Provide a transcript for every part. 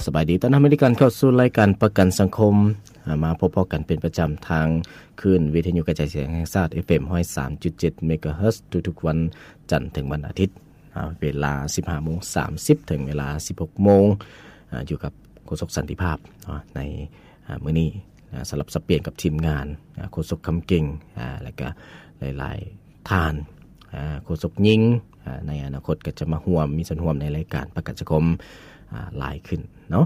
ສະບາຍດີ ຕ້ອນຮັບເຂົ້າສູ່ລາຍການປະກັນສັງຄົມ ອາ ມາພົບພໍ້ກັນເປັນປະຈຳທາງຄື້ນວິທະຍຸກະຈາຍສຽງແຫ່ງຊາດ ເອັຟເອັມ ຮ້ອຍສາມຈຸດເຈັດ ເມກາເຮີດ ທຸກໆວັນຈັນເຖິງວັນອາທິດ ອາ ເວລາ ສິບຫ້າໂມງສາມສິບ ເຖິງເວລາ ສິບຫົກໂມງ ອາ ຢູ່ກັບໂຄສົກສັນຕິພາບເນາະ ໃນ ອາ ມື້ນີ້ ອາ ສະລັບສັບປ່ຽນກັບທີມງານ ອາ ໂຄສົກຄຳເກັ່ງ ອາ ແລະກະຫຼາຍໆທ່ານ ອາ ໂຄສົກຍິງ ອາ ໃນອະນາຄົດກໍຈະມາຮ່ວມ ມີສ່ວນຮ່ວມໃນລາຍການປະກັນສັງຄົມ ອາ ຫຼາຍຂຶ້ນເນາະ.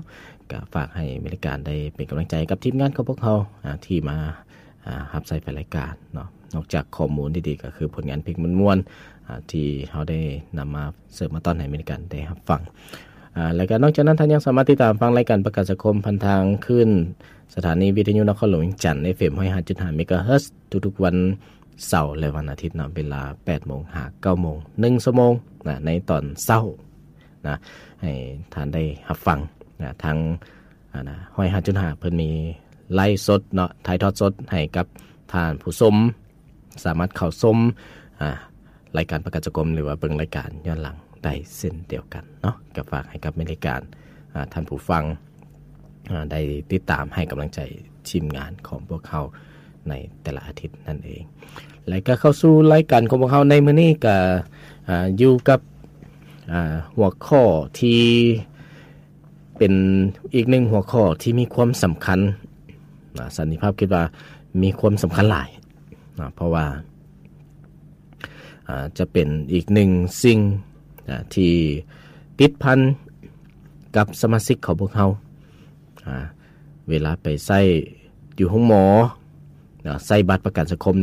ກໍຝາກໃຫ້ແຟນລາຍການໄດ້ເປັນກຳລັງໃຈກັບທີມງານຂອງພວກເຮົາ ອາ ທີ່ມາ ອາ ຮັບໃຊ້ແຟນລາຍການເນາະ. ນອກຈາກຂໍ້ມູນດີໆ ກໍຄືຜົນງານເພງມ່ວນໆ ອາ ທີ່ເຮົາໄດ້ນຳມາເສີບມາຕ້ອນໃຫ້ແຟນລາຍການໄດ້ຮັບຟັງ ອາ ແລະກະນອກຈາກນັ້ນ ທ່ານຍັງສາມາດຕິດຕາມຟັງລາຍການປະກັນສັງຄົມຜ່ານທາງຄື້ນສະຖານີວິທະຍຸນະຄອນຫຼວງວຽງຈັນ ເອັຟເອັມ ຮ້ອຍຫ້າຈຸດຫ້າ ເມກາເຮີດ ທຸກໆວັນເສົາ ແລະ ວັນອາທິດເນາະ ເວລາ ແປດໂມງຫາ ເກົ້າໂມງ ໜຶ່ງຊົ່ວໂມງນະ ໃນຕອນເຊົ້ານະ ໃຫ້ທ່ານໄດ້ຮັບຟັງນະ. ທາງ ອາ ນະ ຮ້ອຍຫ້າຈຸດຫ້າ ເພິ່ນມີໄລຟ໌ສົດເນາະ ຖ່າຍທອດສົດໃຫ້ກັບທ່ານຜູ້ຊົມ ສາມາດເຂົ້າຊົມ ອາ ລາຍການປະກັນສັງຄົມ ຫຼືວ່າເບິ່ງລາຍການຍ້ອນຫຼັງໄດ້ເຊັ່ນດຽວກັນເນາະ. ກໍຝາກໃຫ້ກັບແຟນລາຍການ ອາ ທ່ານຜູ້ຟັງ ອາ ໄດ້ຕິດຕາມໃຫ້ກຳລັງໃຈທີມງານຂອງພວກເຮົາໃນແຕ່ລະອາທິດນັ້ນເອງ. ແລະກະເຂົ້າສູ່ລາຍການຂອງພວກເຮົາໃນມື້ນີ້ ກະ ອາ ຢູ່ກັບ ອາ ຫົວຂໍ້ທີ່ ເປັນອີກໜຶ່ງຫົວຂໍ້ທີ່ມີຄວາມສຳຄັນນະ ສັນຕິພາບຄິດວ່າມີຄວາມສຳຄັນຫຼາຍນະ ເພາະວ່າ ອາ ຈະເປັນອີກໜຶ່ງສິ່ງນະ ທີ່ຕິດພັນກັບສະມາຊິກຂອງພວກເຮົາ ອາ ເວລາໄປໃຊ້ຢູ່ໂຮງໝໍນະ ໃຊ້ບັດປະກັນສັງຄົມນີ້